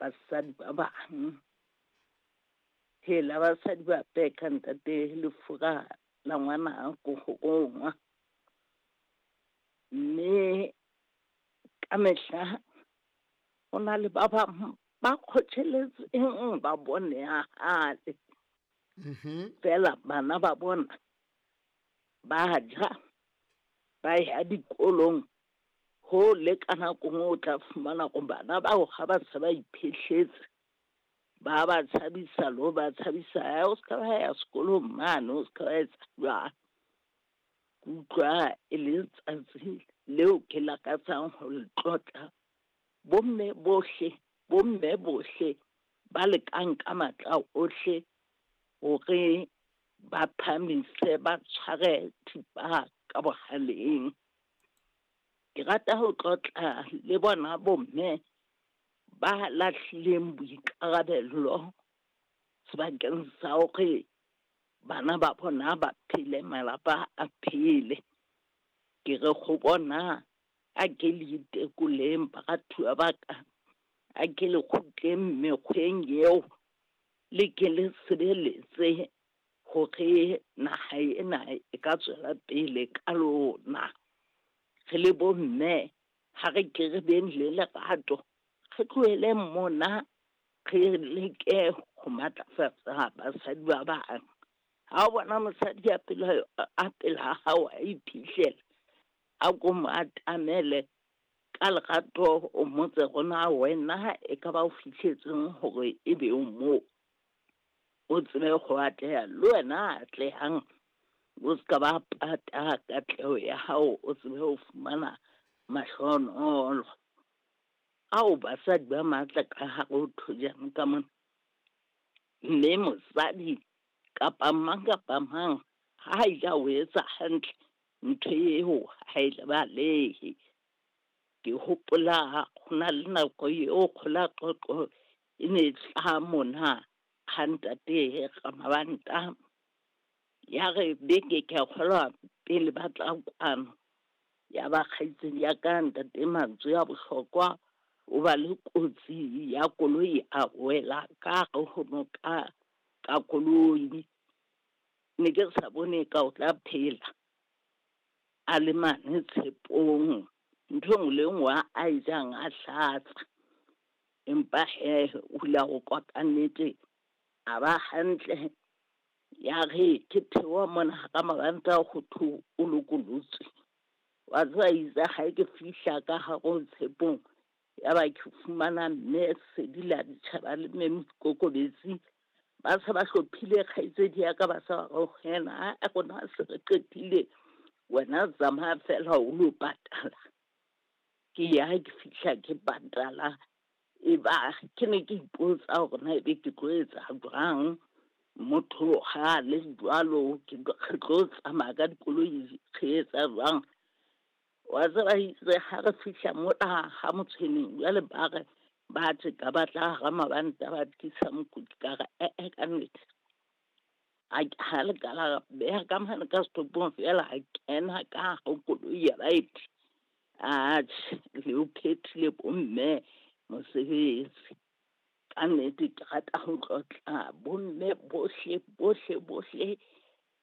basadi ba bang. Hela basadi ba beka ntate lefura la ngwana ko ho rongwa. Mme ka mehla ho na le ba bang ba kgotjheletseng ba bone ya hale. Fela bana ba bona ba ja, ba ya dikolong ho le ka nako nngwe o tla fumana hore bana bao ha ba se ba iphehletse, ba ba tshabisa le ho ba tshabisa, o ska ba ya sekolong mane, o ska ba etsa jwang. Ke utlwa e le letsatsi leo ke lakatsang ho le tlotla. Bomme bohle, bomme bohle ba lekang ka matla ohle hore ba phahamise, ba tshware thipa ka bohaleng. Ke rata ho tlotla le bona bomme ba lahlileng boikarabello sebakeng sa hore bana ba bona ba phele, malapa a phele. Ke re ho bona a ke le itekoleng baratuwa ba ka, a ke le kgutleng mekgweng eo, le ke le sebeletse hore naha ena e ka tswela pele ka lona. Re le bomme ha re ke re beng le lerato, re tloheleng mona, re leke ho matlafatsa basadi ba bang. Ha o bona mosadi a pela a pela hao a iphihlela, a ko mo atamele ka lerato, o mmotse hore na wena e ka ba o fihletseng hore e be o moo, o tsebe ho atleha le wena atlehang, o ska ba pata katleho ya hao, o tsebe ho fumana mahlohonolo. Ao basadi ba matla ka hare ho thojane ka mona. Mme mosadi kapa mang kapa mang ha ile a o etsa hantle, ntho eo ha e lebalehe. Ke hopola ho na le nako eo kgola qoqo e ne e hlaha mona ha ntate Ramabanta. Ya re beke ke a kgolwa pele ba tla kwano, ya ba kgaitsedi ya ka ntate mantswe a bohlokwa, o ba le kotsi ya koloi a wela ka hare ho noka ka koloi. Ne ke sa bone ka o tla phela a le mane tshepong, ntho e nngwe le nngwe a e jang a hlatsa. Empa he o ile a rokwa ka nnete, a ba hantle. Ya re ke theoha mona hara mabanta ho thwe o lokolotswe. Wa tseba itse ha ke fihla ka hare ho tshepong, ya ba ke fumana mme Sedi la ditjhaba le mme Moikokobetsi ba se ba hlophile kgaitsedi ya ka, ba sa ba re ho yena, a rona se re qetile, wena tsamaya fela o lo patala. Ke ya ke fihla ke patala, e ba ke ne ke ipotsa hore na ebe ke tlo etsa jwang. Motho ha le jwalo, ke re tlo tsamaya ka dikoloi re etsa jwang. Wa tseba itse ha re fihla mona ha Motshweneng, jwale ba re ba tjeka ba tla hara mabanta ba tlisa mokudi, ka re ee ka nnete. Ha le ka la beha ka mane ka setopong fela, a kena ka hare ho koloi ya baeti. Atjhe, le o phethile bomme mosebetsi. Ka nnete ke rata ho tlotla bomme bohle bohle bohle.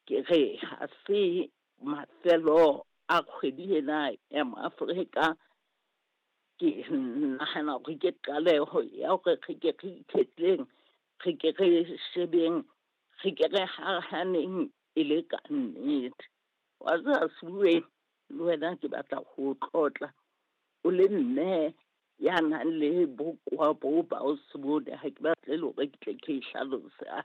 Ke re ha se mafelo a kgwedi ena ya Maafrika, ke nahana hore ke qaleho ya hore re ke re ikhetleng, re ke re shebeng, re ke re hahaneng e le ka nnete. Wa tseba Sebuweng, le wena ke batla ho tlotla o le mme ya nang le bokowa boo ba o se bone, ha ke batle le hore ke tle ke e hlalose.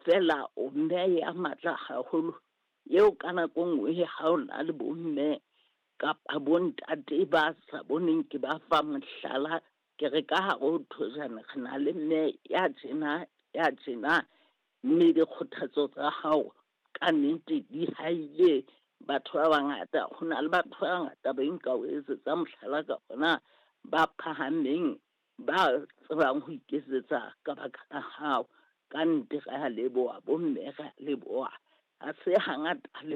Feela o mme ya matla haholo, eo ka nako nngwe ha o na le bomme kapa bontate ba sa boneng, ke ba fa mohlala. Ke re ka hare ho thojana re na le mme ya tjena ya tjena, mme dikgothatso tsa hao ka nnete di haile batho ba bangata. Ho na le batho ba bangata ba nka o etsetsa mohlala ka bona, ba phahameng, ba tsebang ho iketsetsa ka baka la hao. Ka nnete re a leboha bomme, re a leboha. Ha se hangata le